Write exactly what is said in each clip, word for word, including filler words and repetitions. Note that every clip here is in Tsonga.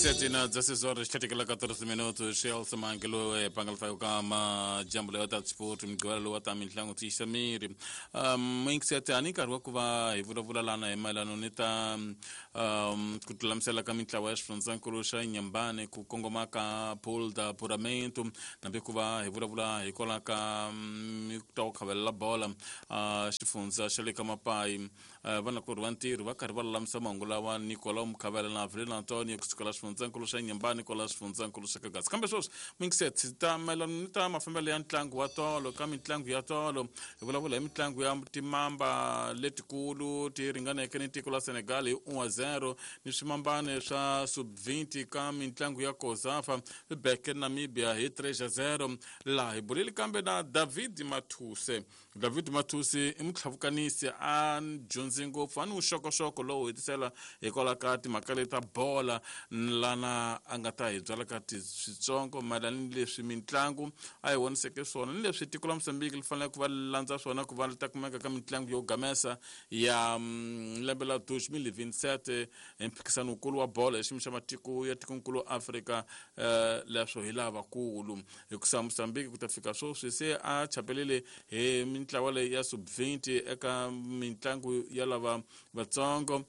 Sete na dezesseis horas trinta e quatro minutos Chelsea Mangelo e pangalfayo kama jambo leyo ta sport migwela lowa ta mintlangu tiyisa miri um mingisete ani nkarhi wa ku va hi vulavula lana hi mayelano ni ta um ku tilulamisela ka mintlawa ya xifundzankulu xa Nyambane ku kongoma ka Pool da Puramento nambi ku va hi vulavula hikwalaho ka ta ku khavelela bola uh, xifundza xa le ka Mapayi uh, vanakorhi va ntirho va karhi va lulamisa mahungu lawa Nicolau Mukhavela na Avelino Antonio kusukela xifundzankulu xa Nyambane kwala xifundzankulu xa Kagasi. Kambe sweswi mingiset ta mayelana ni ta mafambelo ya ntlangu wa tolo ka mitlangu ya tolo hi vulavula hi mitlangu ya timamba letikulu ti ringaneke ni tiko la Senegal hi un a zero ni swimambane swa sub twenty ka mitlangu ya COSAFA swi beke Namibia hi three a zero. Laha hi bulile kambe na David Mathuse. David Mathuse i mutlhavukanisi a dyondzi ngopfu a ni vuxokoxoko lowu hetisela hikwalaho ka timhaka leti ta bola lana a nga ta hi byala ka switsongo mayelana ni leswi mitlangu a hi voniseke swona ni leswi tiko la Mozambique li fanele ku va li landza swona ku va li ta kumeka ka mitlangu yo gamesa ya lembe la twenty twenty-seven hi mphikizano wukulu wa bolo hi xiyimo xa matiko ya tikonkulu Afrika. Leswo hi lavakulu hikusa Mozambique ku ta fika sweswi se a chapelele hi mintlawa leyi ya sub twenty eka mitlangu ya lava vatsongo.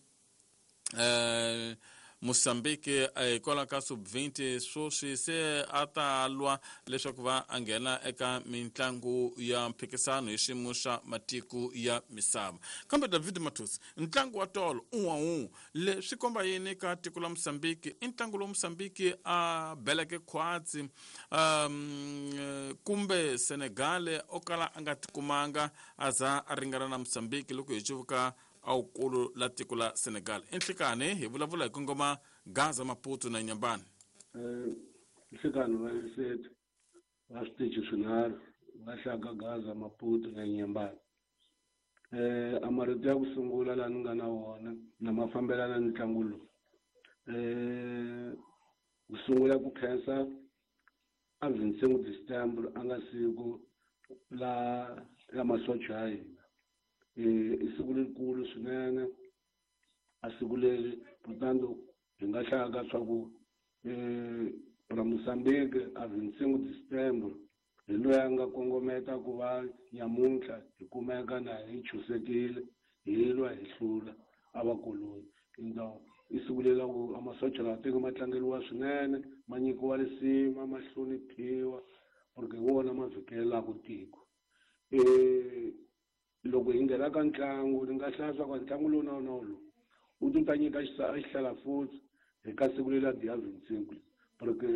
Eh Mozambique hikwalaho ka sub twenty sweswi se a ta lwa leswaku va a nghena eka mitlangu ya mphikizano hi xiyimo xa matiko ya misava. Kambe David Mathuse, ntlangu wa tolo un'we un'we leswi komba yini ka tiko la Mozambique? I ntlangu lowu Mozambique a beleke khwatsi um kumbe Senegal o kala a nga tikumanga a za a ringana na Mozambique loko hi cuvuka awukulu la tiko la Senegal. Enhlikani hi vulavula hi kongoma Gaza, Maputo na Nyambane. Eh nhlikani va sete va switichi swinharhu va hlaka Gaza, Maputo na Nyambane. Eh a marito ya ku sungula laha ni nga na wona na ma fambelana ni ntlangu lowu. Eh ku sungula ku khensa a vinhanu December a nga siku la la masocha ya hina. I siku lerikulu swinene a siku leri portanto hi nga hlaya swa ku ra Mozambique a vinhanu December hi loyi a nga kongometa ku va nyamuntlha hi kumeka na hi chusekile hi lwa hi hlula a va koloni. Então i siku leri la ku a masocha lawa tiko ma tlangeriwa swinene ma nyikiwa risima ma hloniphiwa porque hi wona ma vhikelelaka tiko. Loko hi nghena ka ntlangu ni nga hlaya swa ku ntlangu lowu na wona lowu wu ti ta nyika xihlala futhi hi ka siku leri dia vinhanu porque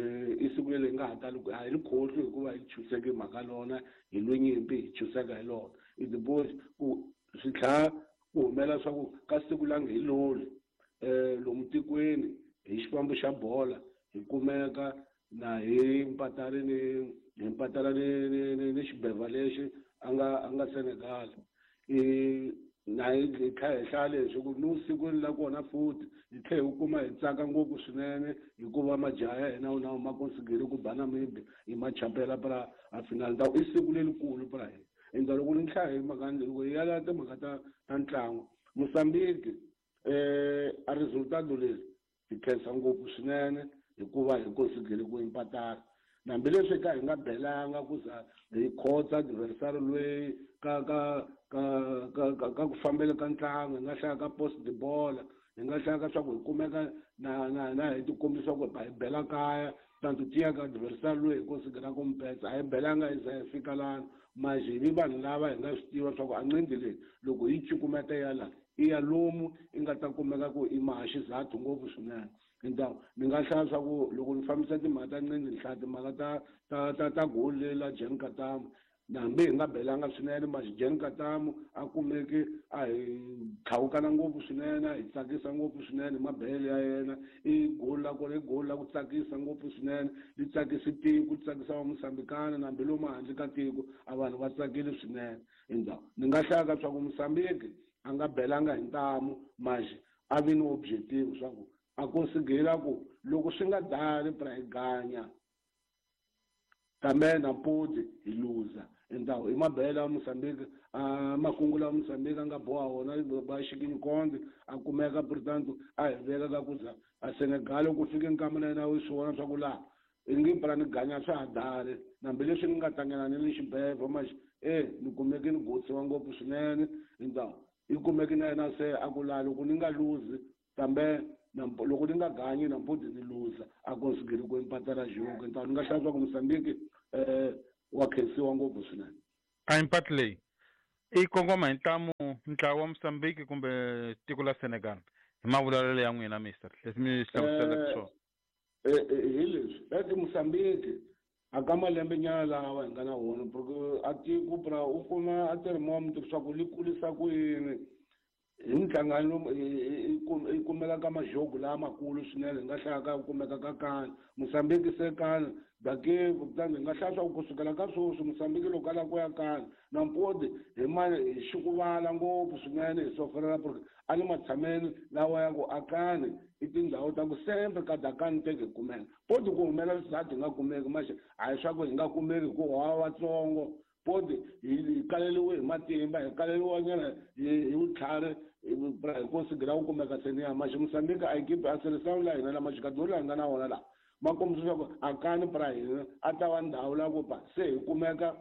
i siku leri hi nga ha tali a hi ri khohlwi hikuva hi chuseke mhaka lona hi lwe nyimpi hi chuseka hi lona. I depois ku swi tlhela ku humela swa ku ka siku lange hi loli um lomu tikweni hi xifambo xa bola hi kumeka na hi mpatali ni hi mpatala ni ni ni ni xibeva lexi a nga a nga Senegal. I na hi kha hi hlaya leswi ku ni vusikwini la kona futhi hi tlhela hi kuma hi tsaka ngopfu swinene hikuva majaha ya hina na ma consigile ku ba Namibia hi ma chapela pra a final. Ta i siku lerikulu pra hina. Ende loko ni hlaya hi mhaka loko hi ya timhaka ta ta ntlangu Mozambique eh a resultado leri hi khensa ngopfu swinene hikuva hi consigile ku impatala hambileswi ka hi nga belanga ku za hi khotsa adversary loyi ka ka ka ka ka ku fambela ka ntlangu hi nga hlaya ka post de bola hi nga hlaya ka swa ku hi kumeka na na na hi tikombisa ku hi bela kaya tanto tiya ka adversary loyi hi considera ku mpetsa a hi belanga hi za hi fika lana manje hi vi vanhu lava hi nga swi tiva swa ku a nqindi leyi loko hi cukumeta ya la i ya lomu i nga ta kumeka ku i maha xizathu ngopfu swinene. Então ni nga hlaya swa ku loko ni fambisa timhaka ta nqindi ni hlaya timhaka ta ta ta ta goli leri la Jean Katamu hambi hi nga belanga swinene manje Jean Katamu a kumeke a hi tlhawukana ngopfu swinene a hi tsakisa ngopfu swinene mabele ya yena i goli la kona i goli la ku tsakisa ngopfu swinene li tsakisi tiko li tsakisa va Mozambikana hambi lomu handle ka tiko a vanhu va tsakile swinene. Então ni nga hlaya ka swa ku Mozambique a nga belanga hi ntamu manje a vi ni objective swa ku a considera ku loko swi nga dali pra hi ganya kambe na podi hi luza. Então i mabela ya Mozambique a makungu la Mozambique a nga boha wona ba xikinyikonde a kumeka portanto a hi veka ka ku za a Senegal ku fike nkama na yena u swi vona swa ku laha i nge pra ni ganya swa ha dali hambileswi ni nga tlangela ni le xibedhlele maxi e ni kumeke ni gotsiwa ngopfu swinene. Então i kumeke na yena se a ku laha loko ni nga luzi kambe loko ni nga ganyi nampundzu ni luza a konsigiri ku empatela jogo. Então ni nga hlaya swa ku Mozambique um wa khensiwa ngopfu swinene. A impati leyi i kongoma hi ntlamu ntlawa wa Mozambique kumbe tiko la Senegal hi mavulavulelo ya n'wina mister leswi mi hlamuseleke swona? Hi leswi eke Mozambique a ka malembe nyana lawa hi nga na wona porque a tiko pra u kuma a thermometer leswaku li kulisa ku yini hi minhlangano yi kumeka ka majogo lamakulu swinene hi nga hlaya ka kumeka ka kani Mozambique se kani dake kutani hi nga hlaya swa ku kusukela ka sweswi Mozambique loko a lava ku ya kani nampodi hi ma hi xikuvala ngopfu swinene hi soferela porque a le matshameni lawa ya ku akani i tindhawu ta ku sempre ka dakani teke hi kumeka podi ku humela swisati hi nga kumeki maxe a hi swa ku hi nga kumeki hikuva wa vatsongo podi hi kaleliwe hi matimba hi kaleliwa nyana hi vutlhari hi konsigira ku kumeka seniya maxe Mozambique a ekipi a seleção la hina lama xikadori laha hi nga na wona laha ma kombisa leswaku akani pra hina a ta va ndhawu la ku pa se hi kumeka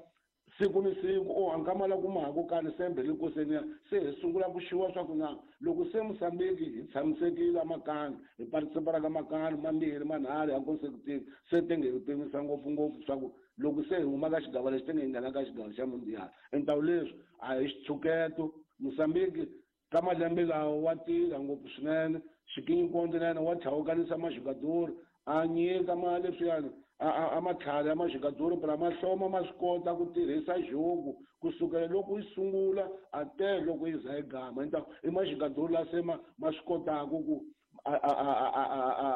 siku ni siku o a nkama la kuma ha ku kani sembe le ku seniya se hi sungula ku xiwa swa ku na loko se Mozambique hi tshamisekile makani hi participara ka makani mambirhi manharhu ya consecutive se tenge hi pimisa ngopfungopfu swa ku loko se hi huma ka xigava lexi tenge hi nghena ka xigava xa mundial. Entawu leswi a hi xitshuketo Mozambique ka malembe lawa wa tirha ngopfu swinene xikinyikonde na yena wa tlhawukanisa maxikadori a nyika ma leswiyani a matlhari ya maxikadori pra ma hloma ma swi kota ku tirhisa jogo kusukela loko yi sungula a te loko yi za yi gama. Então i maxikadori la se ma ma swi kotaka ku a a a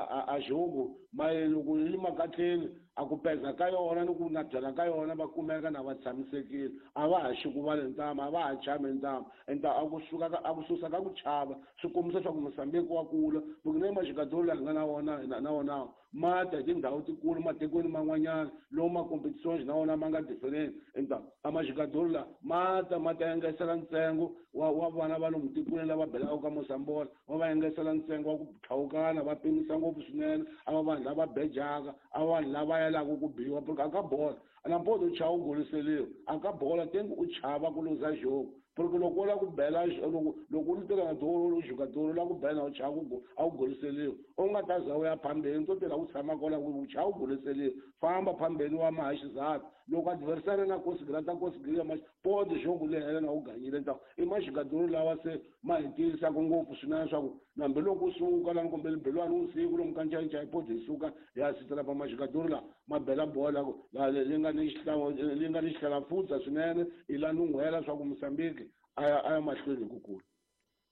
a a jogo ma loko yi makatleni a ku peza ka yona ni ku na byala ka yona va kumeka na va tshamisekile a va ha xikuvale ntama a va ha chami ntama. Enta a ku suka ka a ku susa ka ku chava swi kombisa swa ku Mozambique wa kula loko na maxikadori laha hi nga na wona na wona ma ta hi tindhawu tikulu matikweni man'wanyana lomu ma competitions na wona ma nga different. Enta a maxikadori la ma ta ma ta engesela ntsengo wa wa vana va lomu tikweni lava belaka ka Mozambique wa va engesela ntsengo wa ku tlhawukana va pimisa ngopfu swinene a va vanhu lava bejaka a vanhu lava yelaka ku biwa porque a ka bola nampodi u chava u goliseliwa a ka bola tengi u chava ku luza jogo porque loko u lava ku bela loko loko u teka na doro u jogador la ku bela u chava ku a wu goliseliwa u nga ta za u ya phambeni to tirha ku tshama kwala u chava u goliseliwa famba phambeni wa mahaxizati loko adversary na konsigira ta konsigira ma podi jogo le hela na u ganyile. Então i maxikadori lawa se ma hi tiyisaka ngopfu swinene swa ku nambi loko u suka lani kumbe libelwani usiku lomu ka ncayicayi podi hi suka hi ya sitela pa maxikadori lawa ma bela bola leyi nga ni leyi nga ni xihlalafutsa swinene i la nun'hwela swa ku Mozambique a ya a ya mahlweni hi ku kula.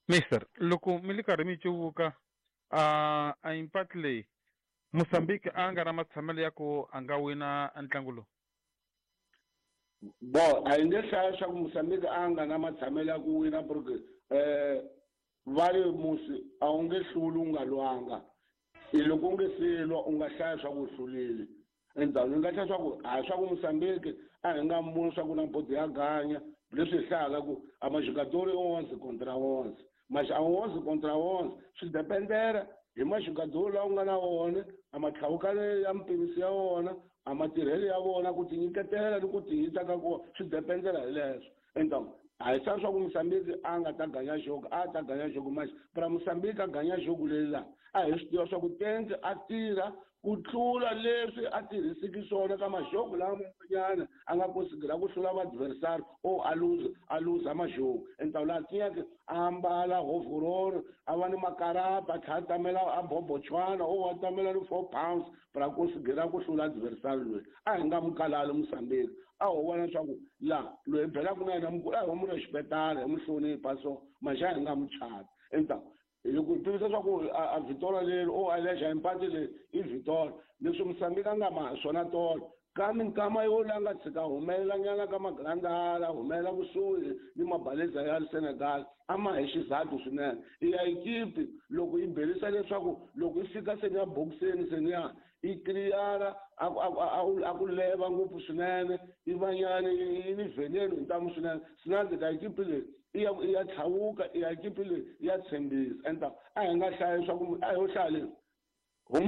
Mister loko mi li karhi mi cuvuka a a impati leyi Mozambique a nga na matshamelo ya ku a nga wina ntlangu lowu? Bo a hi nge hlaya swa ku Mozambique a nga na matshamelo ya ku wina porque um va ri musi a wu nge hluli u nga lwanga i loko u nge se lwa u nga hlaya swa ku u hlulile. Endzhaku ni nga hlaya swa ku a swa ku Mozambique a hi nga muni swa ku na bodi ya ganya leswi hi hlayaka ku a maxikadori i onze contra onze maxi a onze contra onze swi dependera hi maxikadori lawa u nga na wona a matlhawukane ya mpimiso ya wona a matirhelo ya vona ku tinyiketela ni ku tiyisa ka kona swi dependela hi leswo. Então a hi swa swa ku Mozambique a nga ta ganya jogo a ta ganya jogo maxi pra Mozambique a ganya jogo leyi laha a hi swi tiva swa ku tenke a tirha ku tlula leswi a tirhisiki swona ka majogo lawa man'wanyana a nga konsigira ku hlula vaadversary o a luza a luza majogo. Entawu laha tiyeke a ambala hovororo a va ni makarapa a tlhela a tamela a bobochwana o a tamela ni four pounds pra konsigira ku hlula adversary loyi a hi nga mu kalali Mozambique a ho vona leswaku la loyi belaka na yena mukulu a hi wa munhu xipetala hi mu hlonipha so maxa a hi nga mu chavi. Entawu loko hi tivisa swa ku a vitola leri o a lexa impati leyi i vitola leswi Mozambique a nga ma swona tolo Ka minkama yo la nga tshika humelelanyana ka magrandala humelela kusuhi ni mabaleza ya Senegal a ma hi xizathu swinene. I ya ekipi loko yi belisa leswaku loko yi fika seni ya boxeni seni ya yi clear a a ku leva ngopfu swinene i vanyani yi ni veneni hi ntamu swinene. Sinandi ka ekipi leyi i ya i ya tlhawuka, i ya ekipi leyi ya tshembisa. Enta a hi nga hlayi swa ku a ho hlaya leswi ho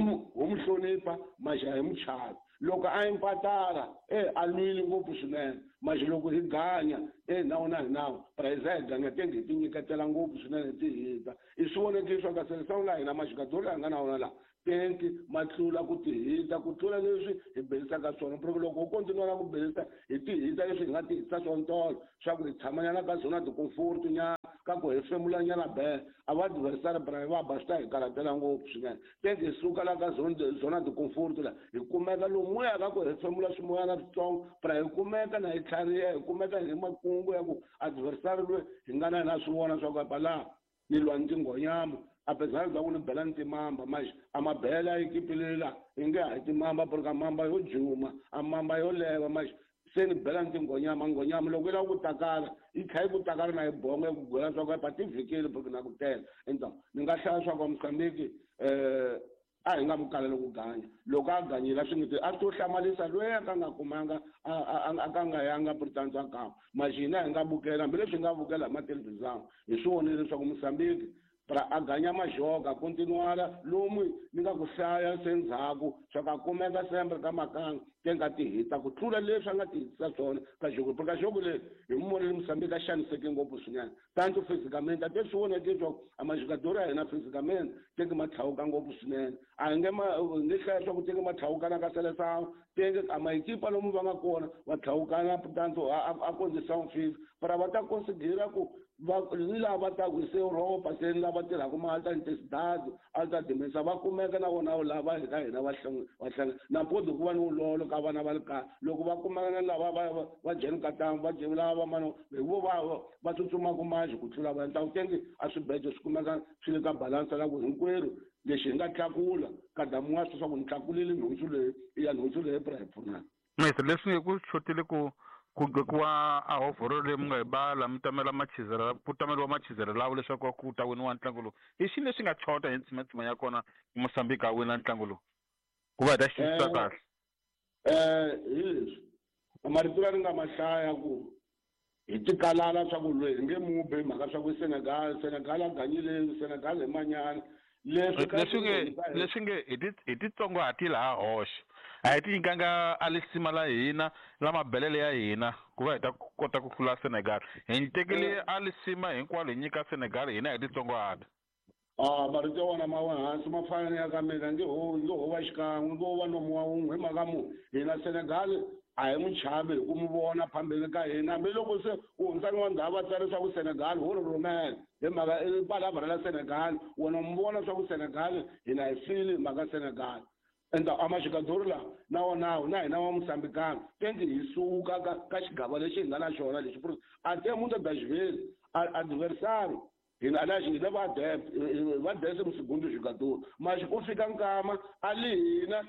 mu hlonipha maxa hi mu chava. Loko a impatara e a lwile ngopfu swinene maxe loko hi ganya e nawu na hi nawu prize hi ganya tenge hi ti nyiketela ngopfu swinene ti hita. I swi vonekile swa ka Seleção la hina maxikadori la hi nga na wona laha tenki ma tlula ku ti hita ku tlula leswi hi belisaka swona. Porque loko ho kontinua ku belisa hi ti hita leswi hi nga ti hitisa swona tolo swa ku hi tshamanyana ka zona de-comfort nyana ka ku hefemulanyana be a va adversary bra va ba swi ta hi karhatela ngopfu swinene. Tenki hi suka la ka zone zona de-comfort la hi kumeka lomuya ka ku hefemula swimoyana switsongo bra hi kumeka na hi tlhariha hi kumeka hi makungu ya ku adversary loyi hi nga na yena swi vona swa ku apa laha ni lwa ni tinghonyama apesar bya ku ni bela ni timamba maxe a ma bela ekipi leyi la i nge hayi timamba porque a mamba yo juma a mamba yo leva maxe se ni bela ni tinghonyama. Nghonyama loko yi lava ku takala yi tlhela yi ku takala na yi bongo yi ku gwela swa ku pa ti vhikile porque na ku tela. Enta ni nga hlaya swa ku Mozambique um a hi nga mu kaleli ku ganya. Loko a ganyile a swi nge a swi to hlamarisa loyi a ka nga kumanga a ka nga yanga Britannia a kama maxe hina hi nga vukela hambileswi hi nga vukela hi mathelevhizana hi swi vonile leswaku Mozambique pra a ganya majoga continuara lomu ni nga ku hlaya se ndzhaku swa ka kumeka sempre ka makanga te nga ti hita ku tlula leswi a nga ti hitisa swona ka jogo. Ka jogo leyi hi mu vonile Mozambique a xaniseke ngopfu swinene tanto physicamente a te swi voneke leswaku a majogadori ya hina physicamente teke ma tlhawuka ngopfu swinene. A hi nge ma nge hlaya swa ku teke ma tlhawukana ka Seleção teke a maekipa lomu va nga kona va tlhawukana tanto a condição física para va ta considera ku va ni lava ta ku se Europa se ni lava tirhaka ma alta intensidade alta dimensão va kumeka na vona lava hi ka hina va va hlangana na mpodi ku va ni wulolo ka vana va le kaya loko va kumeka na lava va va jeni ka tanga va jeni lava mano hi vo va va tsutsumaka manjhe ku tlula va ntawu tenge a swibejo swi kumeka swi le ka balansa la ku hinkwerhu lexi hi nga tlakula ka damuwa swi swa ku ni tlakulile nhundzu leyi i ya nhundzu leyi pra hi pfunana. Mese leswi nge ku xotile ku ku gqokiwa a hovhoro leyi mi nga yi bala mi tamela machizelo ku tameriwa machizelo lawo leswaku ku ta winiwa ntlangu lowu i xini lexi nga chota hi ntsimatsima ya kona Mozambique a wina ntlangu lowu ku va hi ta xi twisisa kahle? Um hi leswi marito la ni nga ma hlaya ku hi tikalala swa ku loyi hi nge mu bi hi mhaka swa ku Senegal Senegal a ganyile Senegal hi manyana leswi leswi nge leswi nge hi ti hi titsongahati laha hoxe a hi ti nyikanga a lisima la hina la mabelele ya hina ku va hi ta kota ku hlula Senegal. Hi tekele a lisima hinkwalo hi nyika Senegal hina hi titsongahata. A marito ya wona ma wa hansi ma fana ni ya ka mina nge ho nge ho va xikan'we nge ho va nomu wa wun'we hi mhaka mu hina Senegal a hi n'wi chavi hi ku mu vona phambeni ka hina hambiloko se ku hundzani wa ndhawu va tsala leswaku Senegal ho ri rhumela hi mhaka i palavra la Senegal wena mu vona swa ku Senegal hina hi fili hi mhaka Senegal. Enta a maxikadori lawa na wona na hina wa Mozambikana tenge hi suka ka ka xigava lexi hi nga na xona lexi a te mundo das vezes adversário hina aliás hina va va décimo segundo jogador mas ku fika nkama ali hina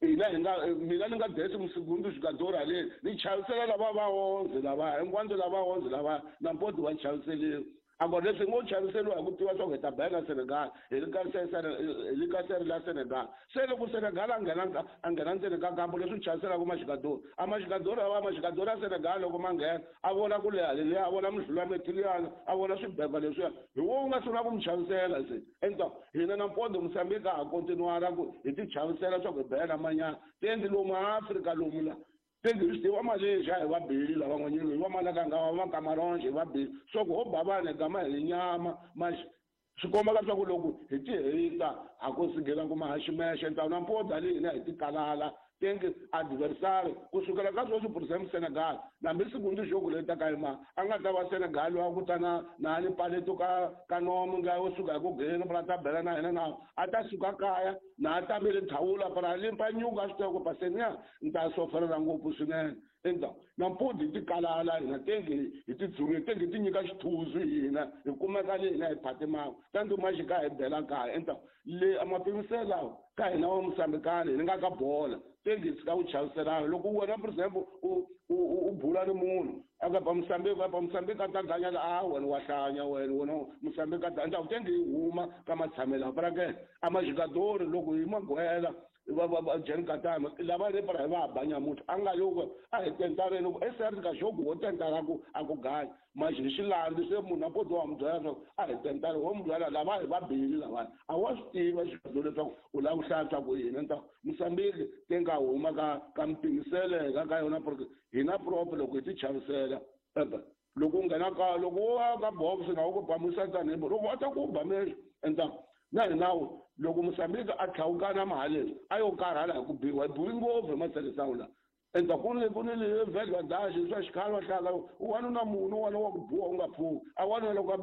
hina hi nga mina ni nga décimo segundo jogador ale ni chavisela lava va onze lava hinkwandzo lava onze lava na mpoti wa chaviseliwa. Agora leswi ngo chaviseliwa hi ku tiva swa ku hi ta bela Senegal hi le ka hi le ka seri la Senegal se loko Senegal a nghena a nghena ndzeni ka kampo leswi chaviselaka maxikadori a maxikadori a maxikadori ya Senegal loko ma nghena a vona ku leha leliya a vona mihlula metiliana a vona swibeba leswiya hi wo wu nga sungula ku mi chavisela se enta hina na mpondo Mozambique a ha kontinuara ku hi ti chavisela swa ku hi bela manyana tendi lomu Afrika lomu la tenge hi swi tiva Malaysia hi va beli lavan'wanyana hi va Malakanga va va Cameroon hi va beli swa ku ho ba vanhu hi gama hi nyama maxe swi kombaka swa ku loko hi ti hita ha ku sigela ku mahaximexe ntawu na mpoda leyi hina hi ti kalala tenge adversary kusukela ka sweswi por exemple Senegal nambi segundo jogo leyi taka yima a nga ta va Senegal wa ku ta na na ni paleto ka ka nomu nga yo suka hi ku geni pra ta bela na hina na a ta suka kaya na a tamele thawula para limpa nyuka swi tiva ku paseniya ni ta soferela ngopfu swinene. Endzhaku nampundzu hi tikalala hina tenge hi tidzunge tenge ti nyika xithuzu hina hi kumeka le hina hi phatimaka tanti maxika hi bela kaya. Endzhaku le a mapimiselo lawa ka hina wa Mosambikani hi nga ka bola tenge hi tshika ku chaviselana. Loko wena for example u u u bula ni munhu a ka ba Mosambiki a ba Mosambiki a ta ganyela a wena wa hlanya wena wena Mosambiki a ta endzhaku tenge hi huma ka matshamelo para ke a majigadori loko hi magwela va va va Jan Katama lava le para hi va ba nyamutlha a nga loko a hi tentareni ku S R ka xogo wo tentara ku a ku ganya manje hi xilandzi se munhu a poti wa mu byela leswaku a hi tentara wo mu byela lava hi va bili lavaya a wa swi tiva xigadzo leswaku u lava ku hlaya swa ku hina nta Mosambiki te nga huma ka ka mipimiseleka ka yona porque hina proper loko hi ti chavisela ebe loko u nghena ka loko wo ya ka box na wu ku ba musatani loko a ta ku ba mexo endzhaku na hi nawu loko Mosambiki a tlhawukana mahaleni a yo karhala hi ku biwa hi biwi ngopfu hi matselisawu lawa. Endzhaku ku ni ku ni le vhedwa daxi swa xikhale va hlaka wanuna munhu wena wa ku biwa u nga pfuki a wanuna loko a